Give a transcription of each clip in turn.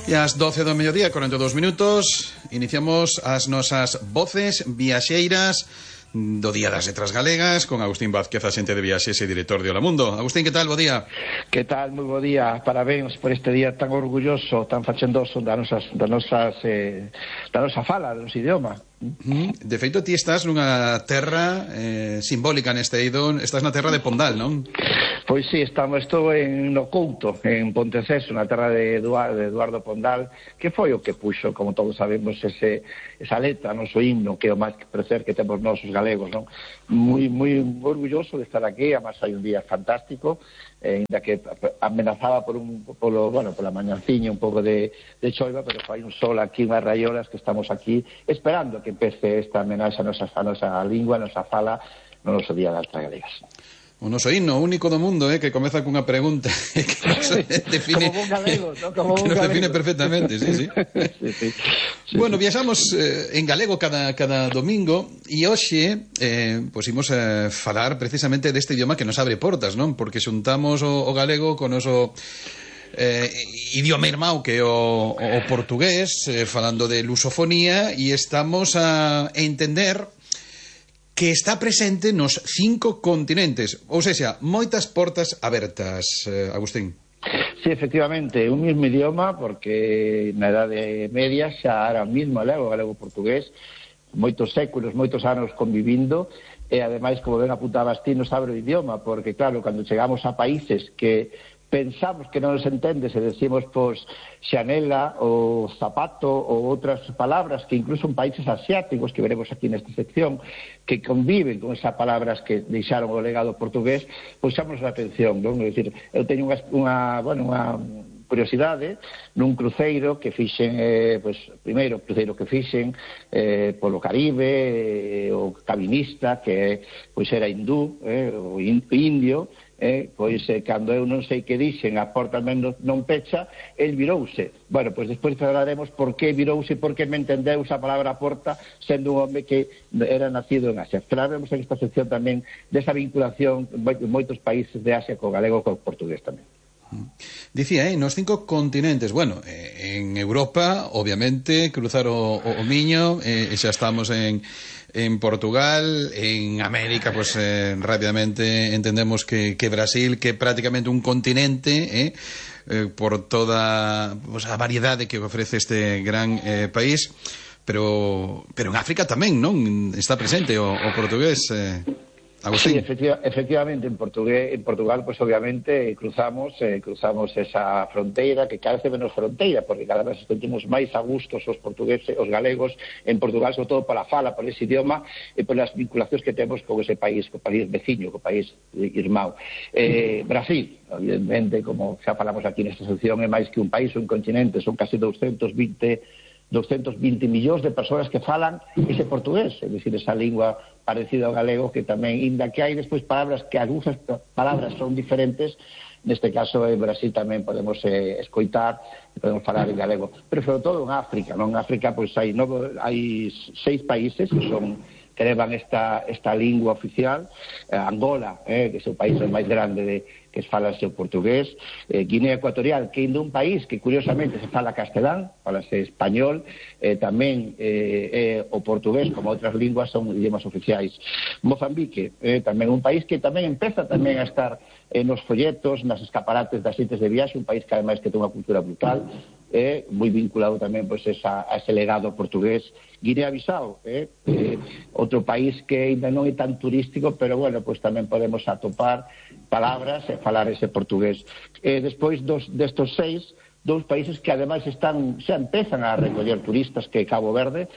E ás 12 do mediodía, 42 minutos, iniciamos as nosas voces viaxeiras do Día das Letras Galegas con Agustín Vázquez, axente de viaxes e director de Hola Mundo. Agustín, que tal? Bo día. Que tal? Moi bo día. Parabéns por este día tan orgulloso, tan fachendoso da nosa fala, do noso idioma. De feito, ti estás nunha terra simbólica neste eido, estás na terra de Pondal, non? Pois sí, estou no Couto, en Ponteceso, na terra de Eduardo Pondal, que foi o que puxo, como todos sabemos, esa letra, noso himno, que é o máis prazer que temos nosos galegos, non? Moi orgulloso de estar aquí, además hai un día fantástico, ainda que amenazaba pola mañanciña un pouco de choiva, pero fai un sol aquí, unhas raiolas, que estamos aquí esperando que empece esta amenaza a nosa lingua, a nosa fala, no noso Día das Letras Galegas. O noso himno único do mundo, que comeza cunha pregunta que nos define, como un galego, ¿no? Como que un nos galego. define perfectamente, sí. Sí. Bueno, viaxamos en galego cada domingo e hoxe pois imos falar precisamente deste idioma que nos abre portas, non? Porque xuntamos o galego con o noso idioma irmão que é o portugués, falando de lusofonía, e estamos a entender que está presente nos 5 continentes, ou seja, moitas portas abertas, Agustín. Sí, efectivamente, un mismo idioma, porque na Edade Media xa era o mismo galego-portugués, moitos séculos, moitos anos convivindo, e ademais, como ben apuntabas ti, nos abre o idioma, porque claro, cando chegamos a países que pensamos que non nos entendes e decimos, pois, xanela ou zapato ou outras palabras que incluso en países asiáticos, que veremos aquí nesta sección, que conviven con esas palabras que deixaron o legado portugués, pois xamos a atención, non? É dicir, eu teño unha curiosidade nun cruceiro que fixen, primeiro cruceiro que fixen polo Caribe, o cabinista que pois era hindú, o indio, pois cando eu non sei que dixen a porta non pecha, el virouse. Bueno, pois despois falaremos por que virouse, por que me entendeu esa palabra porta sendo un home que era nacido en Asia. Falaremos en esta sección tamén desa vinculación de moitos países de Asia co galego e co portugués tamén. Dicía, nos 5 continentes, bueno, en Europa, obviamente, cruzar o Miño, xa estamos en Portugal, en América, pues rápidamente entendemos que Brasil, que é prácticamente un continente, por toda a variedade que ofrece este gran país, pero en África tamén, non? Está presente o portugués, Agustín. Sí, efectivamente, en Portugal, pues obviamente cruzamos esa fronteira, que cada vez menos fronteira, porque cada vez sentimos máis a gustos os portugueses, os galegos en Portugal, sobre todo pola fala, por ese idioma e polas vinculacións que temos con ese país, co país veciño, co país irmão. Brasil, evidentemente, como xa falamos aquí nesta sección, é máis que un país, un continente, son casi 220 millóns de persoas que falan ese portugués, é dicir, esa lingua parecida ao galego, que tamén, inda que hai despois palabras que algunhas palabras son diferentes, neste caso en Brasil tamén podemos escoitar e podemos falar en galego, pero sobre todo en África, non? En África pois hai 6 países que levan esta lingua oficial, Angola, que é o país máis grande que falase o portugués, Guinea Ecuatorial, que é un país que curiosamente se fala castelán, falase español, tamén o portugués, como outras linguas, son idiomas oficiais. Mozambique, tamén un país que tamén empeza tamén a estar nos folletos, nas escaparates das sites de viaxe, un país que ademais que ten unha cultura brutal, moi vinculado tamén pois, a ese legado portugués. Guinea-Bissau, outro país que ainda non é tan turístico, pero bueno, pois tamén podemos atopar palabras e falar ese portugués. Despois destos 6, 2 países que ademais xa empezan a recoller turistas, que Cabo Verde,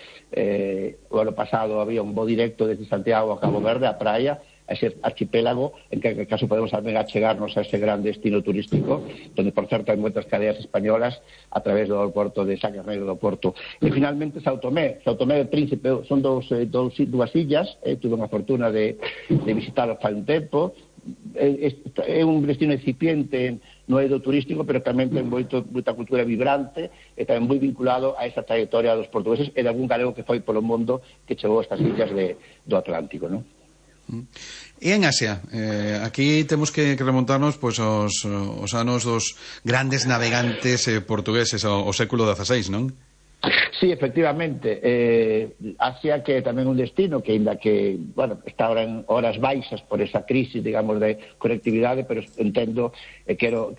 o ano pasado había un voo directo desde Santiago a Cabo Verde, a praia, a ese archipélago, en que caso podemos tamén achegarnos a ese gran destino turístico, donde por certo hai moitas cadeas españolas a través do porto de Sacas Negro do Porto. E finalmente São Tomé e Príncipe, son dúas illas, tuve unha fortuna de visitarlo fai un tempo, é un destino incipiente no eido turístico, pero tamén ten moita cultura vibrante e tamén moi vinculado a esa trayectoria dos portugueses e de algún galego que foi polo mundo que chegou a estas illas do Atlántico, non? E en Asia, aquí temos que remontarnos pois aos anos dos grandes navegantes portugueses ao século XVI, non? Sí, efectivamente, Asia que é tamén un destino que, ainda que, bueno, está ahora en horas baixas por esa crisis, digamos, de conectividade, pero entendo e quero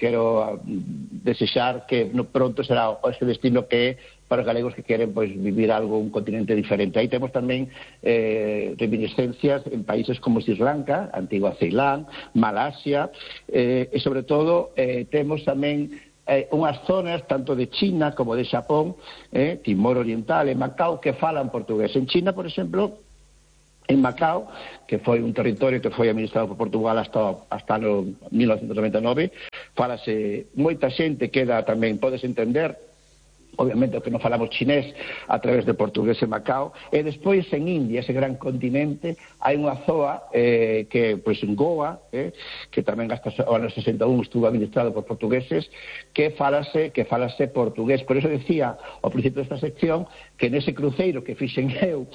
desexar que pronto será ese destino que é para os galegos que queren pois vivir algo, un continente diferente. Aí temos tamén reminiscencias en países como Sri Lanka, antigua Ceilán, Malasia, e sobre todo temos tamén unhas zonas tanto de China como de Xapón, Timor Oriental e Macao, que falan portugués. En China, por exemplo, en Macao, que foi un territorio que foi administrado por Portugal hasta no 1999, falase moita xente, queda tamén, podes entender, obviamente, que non falamos chinés a través de portugués en Macao, e despois en India, ese gran continente, hai unha zoa que, pois, en Goa, que tamén hasta o ano 61 estuvo administrado por portugueses, que falase portugués. Por eso decía ao principio desta sección que nese cruceiro que fixen eu,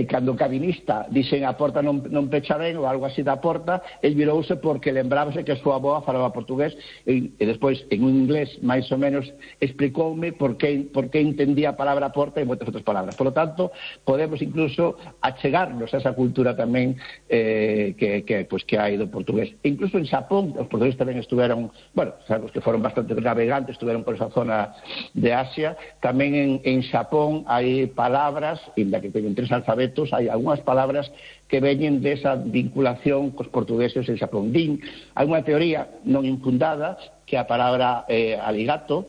cando o cabinista dixen a porta non pecha ben ou algo así da porta, el virouse porque lembrábase que a súa avoa falaba portugués, e despois en un inglés máis ou menos explicoume por que entendía a palabra porta e moitas outras palabras. Por lo tanto, podemos incluso achegarnos a esa cultura tamén que hai do portugués. E incluso en Xapón, os portugueses tamén estuveron, bueno, sabemos que foron bastante navegantes, estuveron por esa zona de Asia. Tamén en Xapón hai palabras, inda que teñen 3 alfabetos, hai algunhas palabras que veñen desa vinculación cos portugueses en Xapón. Hai unha teoría non infundada que a palabra aligato,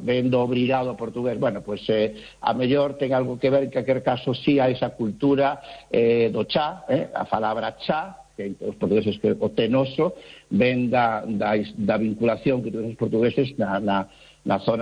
ven do obrigado a portugués. Bueno, pois a mellor ten algo que ver, en calquer caso, si a esa cultura do chá, a palabra chá, que os portugueses que o tenoso, ven da vinculación que tuvieron os portugueses na zona